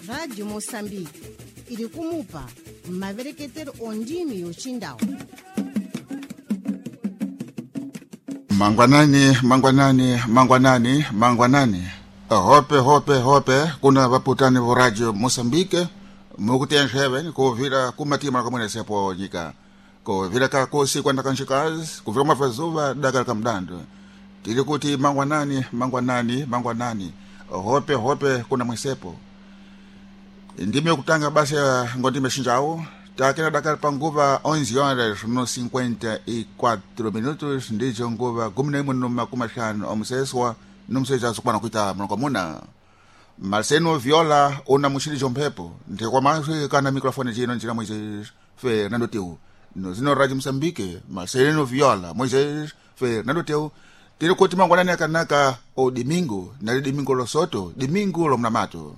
Rádio Moçambique iri kumupa mavereketero ondimi yochindau. Mangwanani, mangwanani, mangwanani, mangwanani, hope hope hope kuna vaputani vo Radio Moçambique mukutenxeve kuvira kumatima kamwenesepo nyika kuvira kakosi kwanda kanxikazi kuvira mafazuva daka kamdando tili kuti mangwanani, mangwanani, mangwanani, hope hope kuna mwesepo. Ndime kutanga basi ngondime xinjawo takena dakali panguva 11 horas no 54 minutos, ndijo nguva 11:50 omuseswa nomuseja sokwana kuita mlongo Marcelo Viola una muxilijo mphepo ndikwamaswi kana microfone cino njira Moisés Fernando Teu no zino Radio Moçambique. Marcelo Viola, Moisés Fernando Teu, tili kuti mangwanani akanaka o domingo nali domingo losoto, domingo lomnamato.